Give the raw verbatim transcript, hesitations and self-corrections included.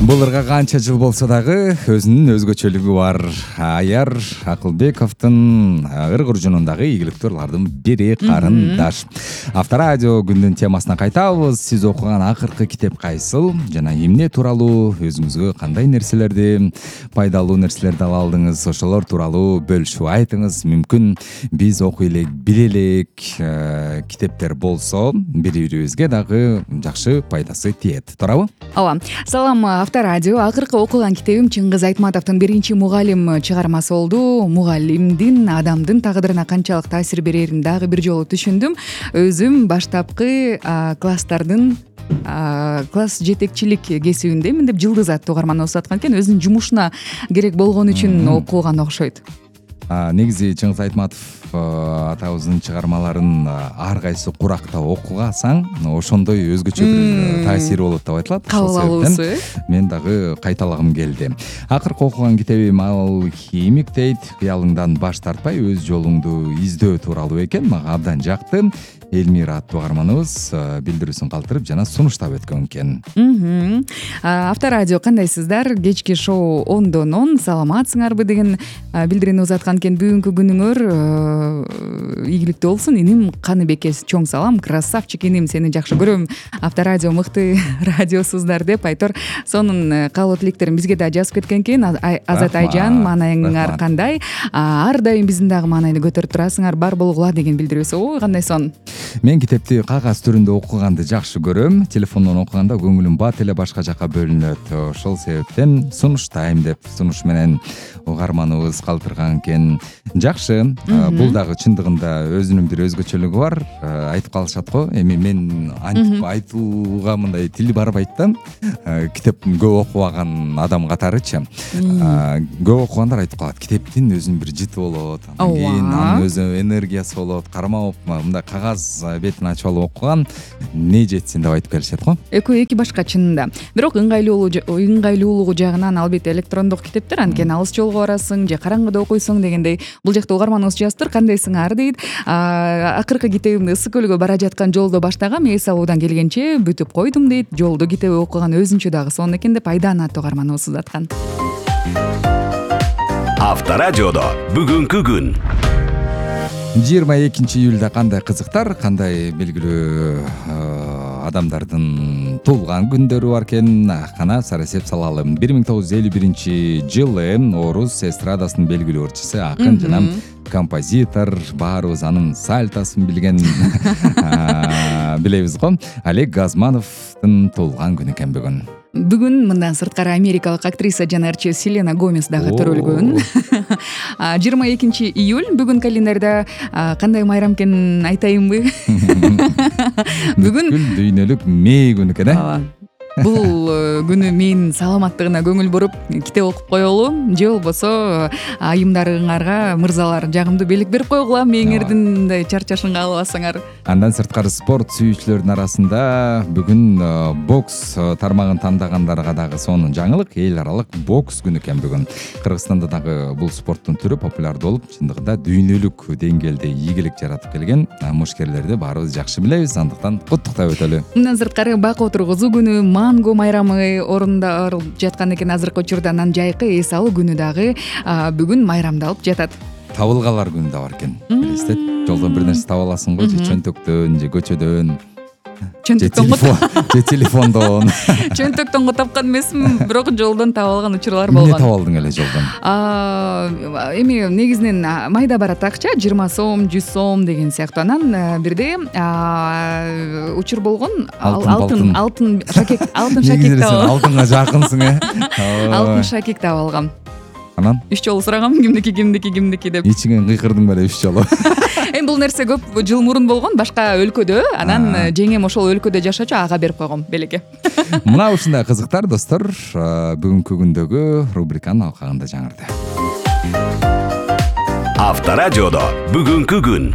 Буларга канча жыл болсо дагы өзүнүн өзгөчөлүгү бар. Аяр Акылбековдун ыр куржунундагы ийгиликтүүлөрдүн бири карындаш. Авторадио күндүн темасына кайтабыз. Сиз окуган акыркы китеп кайсыл жана эмне тууралуу, өзүңүзгө кандай нерселерди, пайдалуу нерселерди ала алдыңыз, ошолор тууралуу бөлүшүп айтыңыз. Мүмкүн биз окуй элек, биле элек китептер болсо, бири-бирибизге дагы жакшы пайдасы тиет. Туурабы? Ооба. Салам, Авторадио. Акыркы окуган китебим Чыңгыз Айтматовдун биринчи мугалим чыгармасы болду. Мугалимдин адамдын тагдырына канчалык таасир берерин дагы бир жолу түшүндүм. Өзүм баштапкы класстардын класс жетекчилик кесибиндемин деп Жылдыз аттуу угарман окуп аткан экен. Өзүнүн жумушуна керек болгон үчүн окуган окшойт. Негизи Чыңгыз Айтматов атабыздын чыгармаларын ар кайсы куракта окугасаң, ошондой өзгөчө бир таасири болот деп айтылат. Кабыл алуусу. Мен дагы кайталагым келди. Акыркы окуган китебим ал Химик дейт. Кыялыңдан баш тартпай өз жолуңду издөө тууралуу экен. Мага абдан жакты. Элмира аттуу угарманыбыз билдирүүсүн калтырып жана сунуштап өткөн экен. Авторадио, кандайсыздар? Кечки шоу ондон он саламатсыңарбы деген билдирүүнү узаткан экен. Бүгүнкү күнүңөр ийгиликтүү болсун. Иним Каныбекке чоң салам. Красавчик иним, сени жакшы көрөм. Авторадио мыкты радиосуздар деп айтор. Сонун каалоо тилектерин бизге да жазып кеткен экен. Азат Айжан, маанайыңар кандай? Ар дайым биздин дагы маанайды көтөрүп турасыңар, бар болгула деген билдирүүсү. Ой, кандай сон. Мен китепти кагаз түрүндө окуганды жакшы көрөм. Телефондон окуганда көңүлүм бат эле башка жака бөлүнөт. Ошол себептен сунуштайм деп сунуш менен угарманыбыз калтырган экен. Жакшы. Бул дагы чындыгында өзүнүн бир өзгөчөлүгү бар. Айтып калышат го. Эми мен антип айтууга мындай тил барбайт да. Китеп көп окубаган адам катарычы. Көп окугандар айтып калат. Китептин өзүнүн бир жыты болот. Андан кийин анын өзү энергиясы болот. Кармап мындай кагаз бетин ачып алып окуган не жетсин деп айтып келишет го. Экөө эки башка чынында. Бирок ыңгайлуулугу ыңгайлуулугу жагынан албетте электрондук китептер, анткени алыс жолго барасың же караңгыда окуйсуң дегендей. Бул жакта угарманыбыз жазыптыр. Кандайсыңар дейт. Акыркы китебимди Ысык көлгө бара жаткан жолдо баштагам, эс алуудан келгенче бүтүп койдум дейт. Жолдо китеп окуган өзүнчө дагы сонун экен деп Айдан аттуу угарманыбыз узаткан. Авторадиодо бүгүнкү күн. жыйырма экинчи июлда кандай кызыктар, кандай белгилүү адамдардын туулган күндөрү бар экен. Кана сарасеп салалы. бир миң тогуз жүз элүү биринчи жылы орус эстрадасынын белгилүү ырчысы, акын жана композитор, баарыбыз анын сальтасын билген билебиз го. Олег Газмановдун туулган күнү экен бүгүн. Бүгүн мындан сырткары америкалык актриса жана ырчы Селена Гомес дагы төрөлгөн. жыйырма экинчи июль бүгүн календарда кандай майрам экенин айтайынбы? Бүгүн дүйнөлүк мээ күнү экен, э? Бул күнү менин саламаттыгына көңүл буруп китеп окуп коелу, же болбосо айымдарыңарга мырзалар жагымдуу белек берип койгула, мээңердин мындай чарчашынга албасаңар. Андан сырткары спорт сүйүүчүлөрдүн арасында бүгүн бокс тармагын тандагандарға дагы сонун жаңылык, эл аралык бокс күнү экен бүгүн. Кыргызстанда дагы бул спорттун түрү популярдуу болуп, чындыгында дүйнөлүк деңгээлде ийгилик жаратып келген мушкерлерди баарыбыз жакшы билебиз. Андыктан куттуктап өтөлү. Мындан сырткары бак отургузуу күнү, манго майрамы орундарылып жаткан экен азыркы учурда. Анан жайкы эс алуу күнү дагы бүгүн майрамдалып жатат. Табылгалар күнү да бар экен. Билесиз, жолдон бир нерсе таба аласың го, же чөнтөктөн, же көчөдөн. Чөнтөктөн же телефондон. Чөнтөктөн го тапкан эмесмин, бирок жолдон таба алган учурлар болгон. Эмне таба алдың эле жолдон? Эми негизинен майда барат акча, жыйырма сом, жүз сом деген сыяктуу. Анан бирде учур болгон алтын алтын шакек, алтын шакек таба. Алтынга жакынсың, э? Алтын шакек таба алгам. Анан үч жолу сурагам, кимдики кимдики кимдики деп. Ичиңен кыйкырдың беле үч жолу. Эми бул нерсе көп жыл мурун болгон, башка өлкөдө. Анан жеңем ошол өлкөдө жашачу, ага берип койгом белекке. Мына ушундай кызыктар достор, бүгүнкү күндөгү рубриканын алкагында жаңырды. Авторадиодо бүгүнкү күн.